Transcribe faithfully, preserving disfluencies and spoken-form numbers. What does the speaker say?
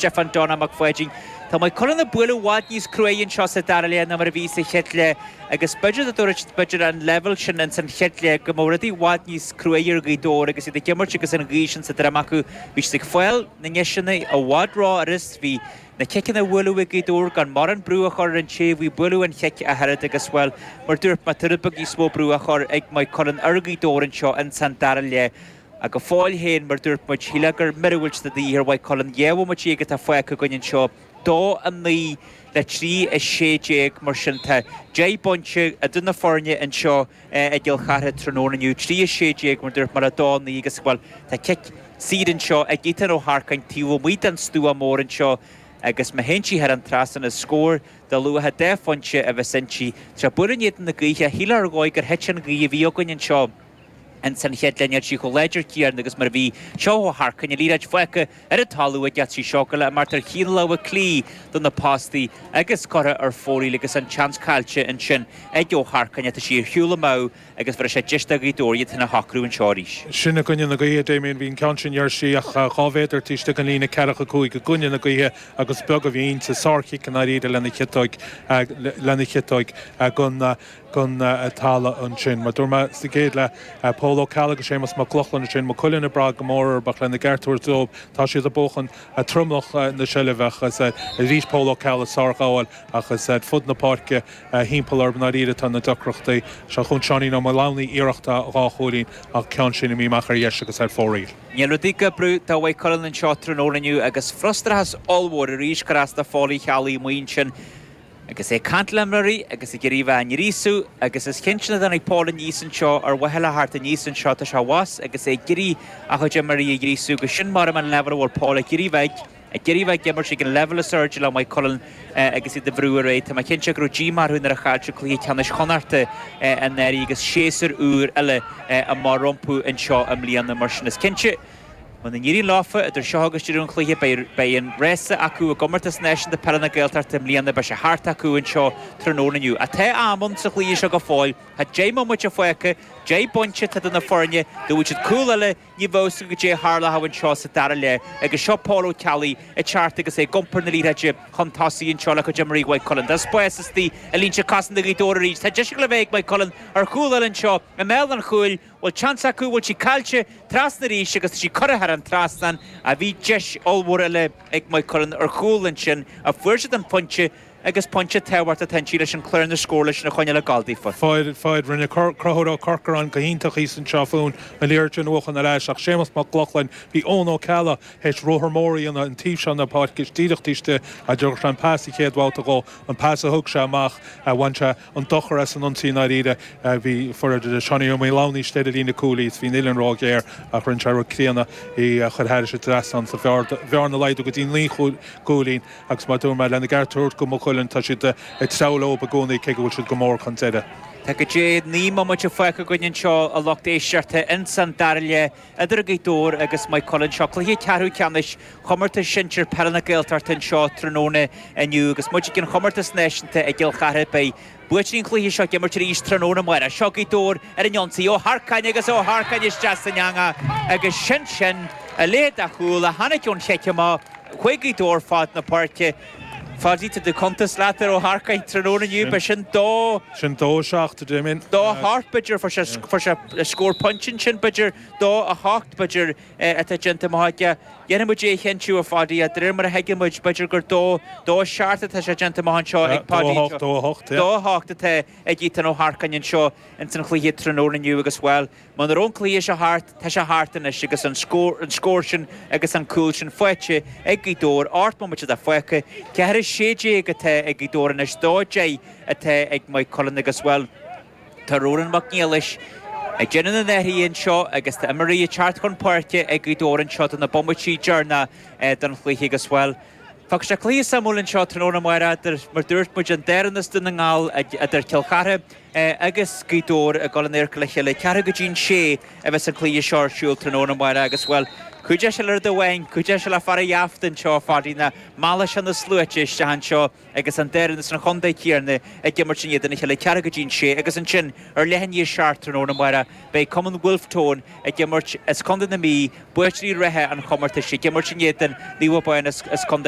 Stiofán Donagh Mac Pháidín. Tá Maigh Cuilinn ag bualadh i bhfad níos cruaidhe anseo sa dara leath ná mar a bhí sa chéad leath agus b'fhéidir dá dúirt b'fhéidir an leibhéal sin ins an chéad leath go mbeadh rudaí i bhfad níos cruaidhe ar Ghaoth Dobhair agus iad ag imirt agus an ghaoth sin sa droim acu. Bhí siad ag fáil na ndeiseanna i bhfad ró-fhurast, bhí na ciceanna á mbualadh ag Gaoth Dobhair gan mórán brú a chur ar an té a bhí ag bualadh an chic ach oiread agus bhuel mar dúirt mé tá rud beag níos mó brú á chur ag Maigh Cuilinn ar Ghaoth Dobhair anseo ins an dara leath. Ach go fóill féin mar dúirt muid shílfeá gur míorúilt de dhíth ar Mhaigh Cuilinn dhá bhomaite déag atá fágtha againn anseo dó a naoi le trí a sé déag mar sin tá deich bpointe idir na foirne anseo i gCill Chartha tráthnóna inniu trí a sé déag mar dúirt mé le dó a naoi agus bhuel tá cic saor anseo ag Ethan Ó hEarcáin taobh amuigh den stua mór anseo agus má théann sí thar an trasnán is scór de luach a deich phointe a bheas inti. Tá bualadh in éadan na gaoithe shílfeá ar dhóigh gur thit an ghaoth a bhí againn anseo. Ins an chéad leath níl sí chomh láidir céanna agus mar a bhí seo Ó hEarcáin an liathróid fágtha ar an talamh aige trí seo go le imeacht ar thaobh na láimhe clí do na postaí agus curtha ar fóraoil agus an seans caillte ansin ag Ó hEarcáin tá sí ar shiúl amach agus bhfuair sé deis do Ghaoth Dobhair iad féin a shocrú anseo arís. Sin i gcoinne na gaoithe Damien bhí an ceann sin ar sí ach dhá mhéadar taobh istigh den líne ceathracha cúig i gcoinne na gaoithe agus beag a bhí inti sárchic an airíde lena chiotóig lena chiotóig gon gon talamh ansin. Mar dúirt mé sa gcéad leath Pól Ó Ceallaigh agus Séamus Mac Lochlainn sin Maigh Cuilinn ag brath go mór ach lena gceart dóibh tá siad ag buachan tromlach na seilbhe agus arís Pól Ó Ceallaigh sárghabháil agus fud na páirce timpeall ar ndáiríre tá na deacrachtaí seo chun Seáinín Ó Maolannaí iarracht dhá chúilín ach ceann sin imithe amach ar dheis agus ar fóraoil. Níl rudaí ag oibriú do Mhaigh Cuilinn anseo tráthnóna inniu agus frustrachas ollmhór arís gur as do Phóil Uí Cheallaigh amuigh ansin agus é ag caint le imreoirí agus ag iarraidh bheith á ngríosú agus is cinnte nach dtáinig Paul aníos anseo ar mhaithe le theacht aníos anseo tá sé abhus agus é ag iarraidh a chuid imreoirí a ghríosú agus sin mar an leibhéal a bhfuil Paul ag iarraidh bheith ag iarraidh bheith ag imirt ag an leibhéal is airde le Maigh Cuilinn agus iad a bhrú ar aghaidh. Tá mé cinnte go raibh díomá orthu nuair a chaill siad cluiche ceannais Chonnachta anuraidh agus séasúr úr eile amach rompu anseo i mbliana mar sin is cinnte. Muna n-éiríonn leofa idir seo agus deireadh an chluiche beidh an rása acu i gcomórtas náisiúnta peile na Gaeltachta i mbliana beidh sé thart acu anseo tráthnóna inniu. Ach tá am ann sa chluiche seo go fóill, tá deich mbomaite fágtha, deich bpointe atá idir na foirne, dá bhfuil siad cúl eile ní bheadh go dté tharlach anseo sa dara leath agus seo Paul Ó Ceallaigh ag teacht agus é ag iompar na liathróide chun tosaigh anseo le cuid imreoirí Mhaigh Cuilinn. Tá spás istigh i línte cosanta Ghaoth Dobhair arís. Tá deis le bheith ag Maigh Cuilinn ar chúl eile anseo i mbéal an chúil bhfuil seans acu bhfuil sí caillte trasna arís agus tá sí curtha thar an trasnán a bhí deis ollmhór eile ag Maigh Cuilinn ar chúl ansin a fuair siad an pointe agus pointe tábhachtach atá leis an chlár na scór leis na choinne le galdaífa. Fáid fáid rinne Conchúr Ó Corcoran go hiontach san seo fún an liathróid sin uachan ar ais ach Séamus Mac Lochlainn bhí Eoin Ó Ceallaigh théis ruathar mór an taobh seo na páirce díreach taobh a dúirt an pas a chéad bhabhta go an pas a thug sé amach bhain sé an dochar as an ionsaí ndáiríre bhí fuair Seánie Ó Maolannaí istigh ar líne cúil is bhí an róghéar ach rinne sé rud críonna í chur thairis an trasnán sa bhearna laghdú go dtí naoi gcúilín agus má dúirt mé lena gceart go Maigh Cuilinn tá siad ag treabhadh leo i gcónaí cé go bhfuil siad go mór chun deireadh. Tá go dé naoi mbomaite fágtha againn anseo a lucht éisteachta insan dara leath idir Gaoth Dobhair agus Maigh Cuilinn seo cluiche ceathrú ceannais chomórtas sinsir peile na Gaeltachta anseo tráthnóna inniu agus muid ag an chomórtas náisiúnta i gCill Chartha beidh buaiteoirí an chluiche seo ag imirt arís tráthnóna amárach. Seo Gaoth Dobhair ar an ionsaí Ó hEarcáin agus Ó hEarcáin isteach san eangach agus sin sin a leithéid de chúl a tháinig ón chic amach chuig Gaoth Dobhair fad na páirce. Fáidí do cuntas leat ar Ó hEarcáin tráthnóna inniu be sin dó Sin dó seacht Damien. dó hocht b'fhéidir fuair sé fuair sé scór pointe sin b'fhéidir dó a hocht b'fhéidir atá déanta amach aige. Dhéanfaidh muid é a chinntiú a Pháidí a d'réir mar a thuigeann muid b'fhéidir gur dó dó seacht atá sé déanta amach anseo ag Páidí Dó hocht dó hocht Dó hocht atá ag Ethan Ó hEarcáin anseo ins an chluiche tráthnóna inniu agus bhuel Muna raibh an cluiche seo thart tá sé thart anois agus an scór an scór sin agus an cúl sin faighte ag Gaoth Dobhair ocht mbomaite atá fágtha ceathair sé déag atá ag Gaoth Dobhair anois dó deich atá ag Maigh Cuilinn agus bhuel Tá Ronan Mac Niallais ag déanamh na n-athruithe anseo agus tá imreoirí ag teacht chun páirce ag Gaoth Dobhair anseo do na bomaití deireanacha don chluiche agus bhuel. Tá sé cluiche suimiúil anseo tráthnóna amárach mar dúirt muid an dara as Dún na nGall idir Cill Chartha agus Gaoth Dobhair ag dul in adharca le chéile ceathrú go dtí an sé a bheas an cluiche seo ar siúl tráthnóna amárach agus bhuel cuideoidh sé le rud amháin cuideoidh sé le fear an gheafta anseo fadaí na meallfaidh sé na sluaite isteach anseo agus an dara as an chontae céanna ag imirt in éadan a chéile ceathrú go dtí an sé agus ansin ar leath i ndiaidh a seacht tráthnóna amárach beidh Cumann Wolfe Tone ag imirt as Contae na Mí buaiteoirí reatha an chomórtais ag imirt in éadan Naomh Abán as Contae